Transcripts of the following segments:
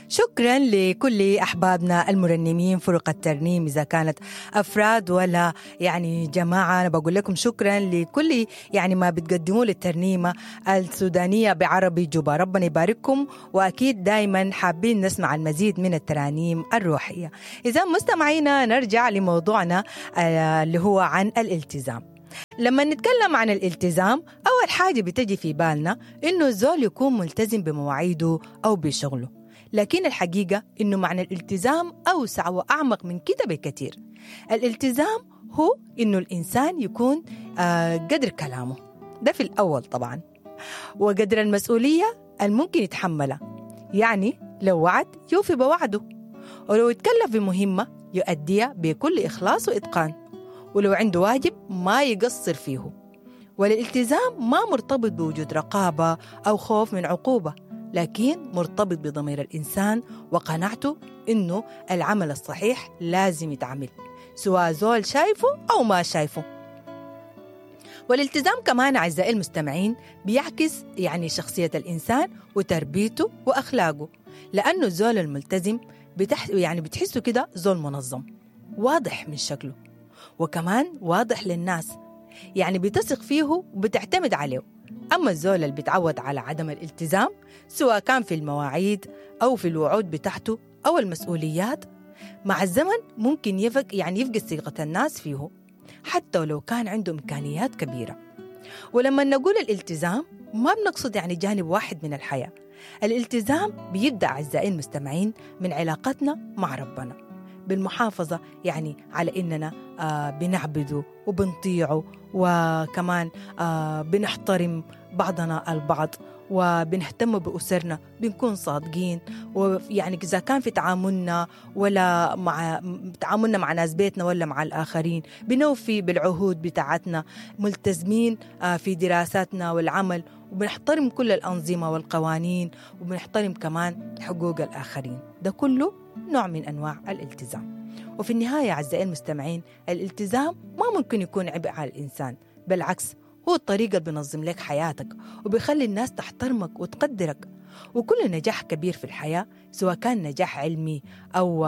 شكرا لكل أحبابنا المرنمين، فرق الترنيم إذا كانت أفراد ولا يعني جماعة. أنا بقول لكم شكرا لكل يعني ما بتقدموه للترنيمة السودانية بعربي جوبا. ربنا يبارككم، وأكيد دايما حابين نسمع المزيد من الترانيم الروحية. إذا مستمعينا نرجع لموضوعنا اللي هو عن الالتزام. لما نتكلم عن الالتزام أول حاجة بتجي في بالنا إنه الزول يكون ملتزم بمواعيده أو بشغله، لكن الحقيقة إنه معنى الالتزام أوسع وأعمق من كده بكثير. الالتزام هو إنه الإنسان يكون قدر كلامه ده في الأول طبعا، وقدر المسؤولية الممكن يتحملها. يعني لو وعد يوفي بوعده، ولو يتكلف بمهمة يؤديها بكل إخلاص وإتقان، ولو عنده واجب ما يقصر فيه. والالتزام ما مرتبط بوجود رقابة أو خوف من عقوبة، لكن مرتبط بضمير الإنسان وقناعته إنه العمل الصحيح لازم يتعمل، سواء زول شايفه أو ما شايفه. والالتزام كمان أعزائي المستمعين بيعكس يعني شخصية الإنسان وتربيته وأخلاقه، لأنه الزول الملتزم يعني بتحسه كده زول منظم، واضح من شكله، وكمان واضح للناس، يعني بتثق فيه وبتعتمد عليه. أما الزول اللي بيتعود على عدم الالتزام سواء كان في المواعيد أو في الوعود بتاعته أو المسؤوليات، مع الزمن ممكن يفقد ثقة الناس فيه حتى لو كان عنده إمكانيات كبيرة. ولما نقول الالتزام ما بنقصد يعني جانب واحد من الحياة. الالتزام بيبدأ أعزائي المستمعين من علاقتنا مع ربنا، بالمحافظة يعني على إننا بنعبده وبنطيعه، وكمان بنحترم بعضنا البعض، وبنهتم بأسرنا، بنكون صادقين، ويعني إذا كان في تعاملنا ولا مع تعاملنا مع ناس بيتنا ولا مع الآخرين، بنوفي بالعهود بتاعتنا، ملتزمين في دراساتنا والعمل، وبنحترم كل الأنظمة والقوانين، وبنحترم كمان حقوق الآخرين. ده كله نوع من أنواع الالتزام. وفي النهاية أعزائي المستمعين، الالتزام ما ممكن يكون عبء على الإنسان، بالعكس هو الطريقة اللي بينظم لك حياتك وبيخلي الناس تحترمك وتقدرك. وكل نجاح كبير في الحياة سواء كان نجاح علمي أو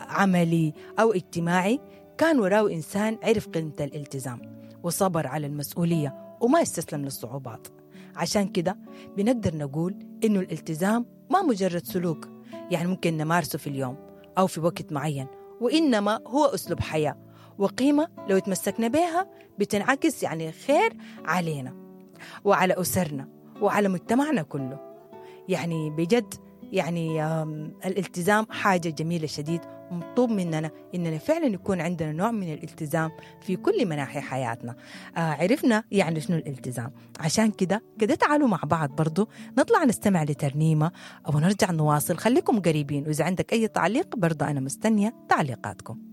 عملي أو اجتماعي كان وراه إنسان عرف قيمة الالتزام وصبر على المسؤولية وما استسلم للصعوبات. عشان كده بنقدر نقول إنه الالتزام ما مجرد سلوك يعني ممكن نمارسه في اليوم أو في وقت معين، وإنما هو أسلوب حياة وقيمة لو تمسكنا بها بتنعكس يعني خير علينا وعلى أسرنا وعلى مجتمعنا كله. يعني بجد يعني الالتزام حاجة جميلة شديد، ومطلوب مننا إننا فعلا يكون عندنا نوع من الالتزام في كل مناحي حياتنا. عرفنا يعني شنو الالتزام، عشان كده تعالوا مع بعض برضو نطلع نستمع لترنيمة ونرجع نواصل. خليكم قريبين، وإذا عندك أي تعليق برضو أنا مستنية تعليقاتكم.